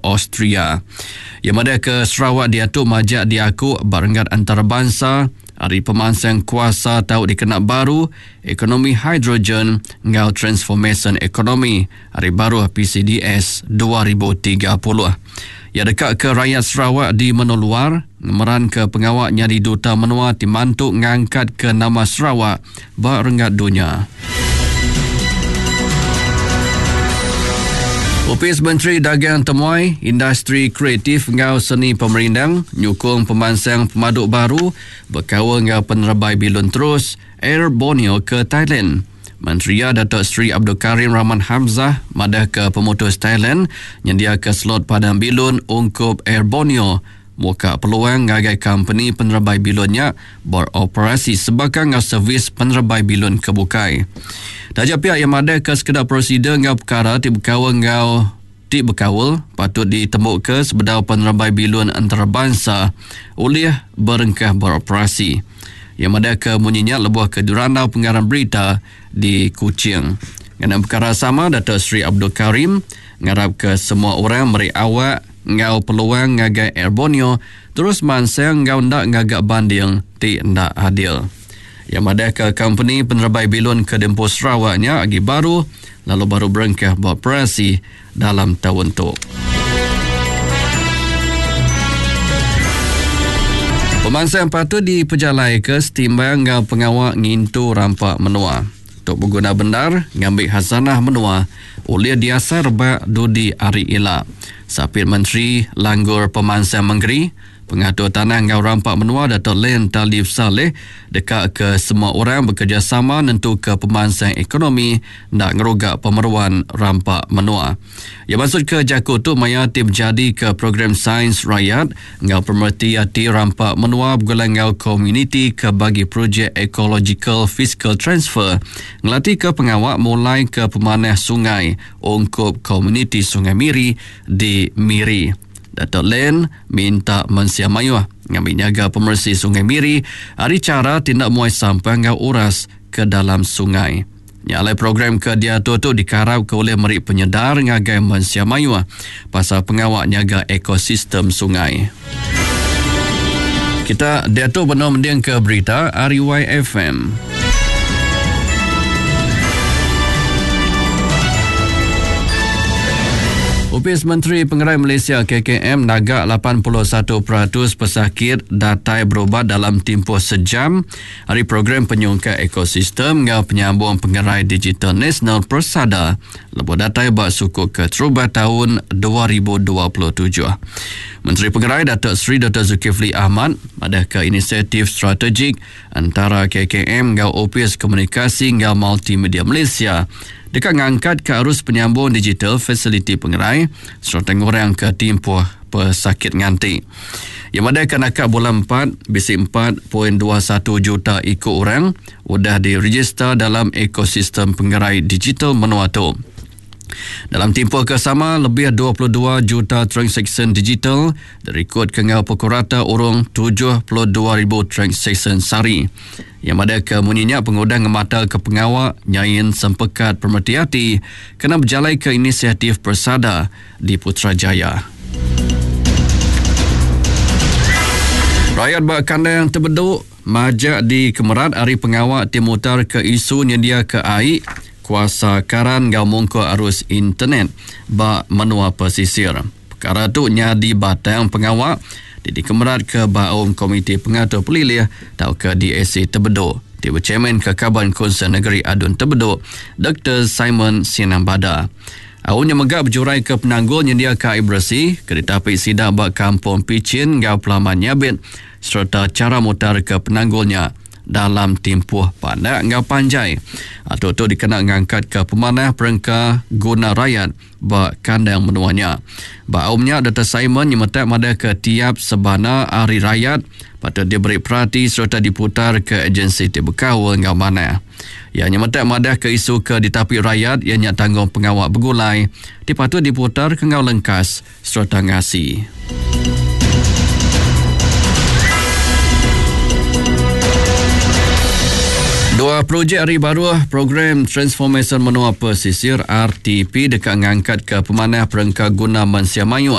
Austria. Iya madahka Sarawak diatu majak diaku ba renggat antarabansa ari pemansang kuasa tau dikena baru, ekonomi hidrogen enggau transformasyen ekonomi ari baruh PCDS 2030. Iya deka ke rayat Sarawak di menua luar ngemeranka pengawa nyadi duta menua ti mantu ngangkatka nama Sarawak ba renggat dunya. Opis Menteri Dagang Temuai, Industri Kreatif enggau Seni Pemerindang nyukung pemansang pemadu baru bekaul enggau penerebai bilun terus Air Borneo ke Thailand. Menteri iya Datuk Seri Abdul Karim Rahman Hamzah madahka pemutus Thailand nyendiaka slot padang bilun ungkup Air Borneo muka peluang ngagai kompeni penerebai bilun nya beroperasi sebaka enggau servis penerebai bilun ke bukai. Taja pia iya madahka sekeda prosedur enggau pekara ti bekaul enggau ti bekaul patut ditembuka sebedau penerebai bilun entarabansa ulih berengkah beroperasi. Iya madahka munyi nya lebuh ke dirandau pengarang berita di Kuching. Ngena pekara sama, Datuk Seri Abdul Karim ngarapka semua orang meri awak enggau peluang ngagai Air Borneo terus mansang enggau enda ngaga banding ti enda adil. Iya madahka kompeni penerebai bilun ke diempu Sarawak nya agi baru lalu baru berengkah beoperasi dalam taun tu. Pemansang patut dipejalaika setimbang enggau pengawa ngintu rampa menua. Tu beguna bendar ngambi khazanah menua ulih diasai rebak dudi hari ila. Sapit Menteri Langgur Pemansang Mengeri, Pengatur Tanah enggau Rampa Menua Datuk Len Talif Salleh deka ke semua orang bekerejasama nentuka pemansang ekonomi enda ngeruga pemeruan rampa menua. Iya mansutka jaku tu maya ti bejadika Program Sains Rayat enggau Pemereti Ati Rampa Menua begulai enggau Komuniti ke bagi projek Ecological Fiscal Transfer ngelatika pengawa mulaika pemanah sungai ungkup komuniti Sungai Miri di Miri. Datuk Len minta mensia mayuh ngambi nyaga pemeresi Sungai Miri ari chara ti enda muai sampah enggau uras ke dalam sungai. Nya alai program ke diatur tu dikarapka ulih meri penyedar ngagai mensia mayuh pasal pengawa nyaga ekosistem sungai. Kita diatu benung mendingka berita ari YFM. Opis Menteri Pengerai Malaysia KKM naga 81% pesakit datai berubat dalam timpuh sejam ari program penyungkak ekosistem enggau penyambung pengerai digital nasional Persada lebuh datai ba suku keterubah taun 2027. Menteri Pengerai Datuk Seri Doktor Zulkifli Ahmad madahka inisiatif strategik entara KKM enggau Opis Komunikasi enggau Multimedia Malaysia deka ngangkatka arus penyambung digital fasiliti pengerai sereta ngurangka timpuh pesakit nganti. Iya madahka naka bulan empat, bisi 4.21 juta iku orang udah direjista dalam ekosistem pengerai digital menua tu. Dalam timpuh ke sama, lebih 22 juta transaksyen digital dirikodka enggau pukul rata urung 72,000 transaksyen sehari. Iya madahka munyi nya pengudah ngemataka pengawa nyain sempekat pemereti ati kena bejalaika inisiatif Persada di Putrajaya. Rayat ba kandang Tebedu majak dikemerat ari pengawa ti mutarka isu nyendiaka ai, kuasa karan enggau mungkur arus internet ba menua pesisir. Pekara tu nyadi batang pengawa ti dikemeratka ba Aum Komiti Pengatur Pelilih tauka DAC Tebedu ti bechairmanka Kaban Kunsil Negeri Adun Tebedu Doktor Simon Sinang Bada. Aum nya mega bejuraika penanggul nyendiaka ai beresi ke ditapi sida ba Kampung Pichin enggau Pelaman Nyabit sereta chara mutarka penanggul nya dalam timpuh pandak enggau panjai. Atur tu dikena ngangkatka pemanah perengka guna rayat ba kandang menua nya. Ba aum nya, Doktor Simon nyemetak madahka tiap sebana ari rayat patut diberi perati sereta diputarka ejensi ti bekaul enggau manah. Iya nyemetak madahka isu ke ditapi rayat iya nya tanggungpengawa begulai ti patut diputarka enggau lengkas sereta ngasi. Dua projek ari baruh Program Transformasyen Menua Pesisir, RTP, deka ngangkatka pemanah perengka guna mensia mayuh.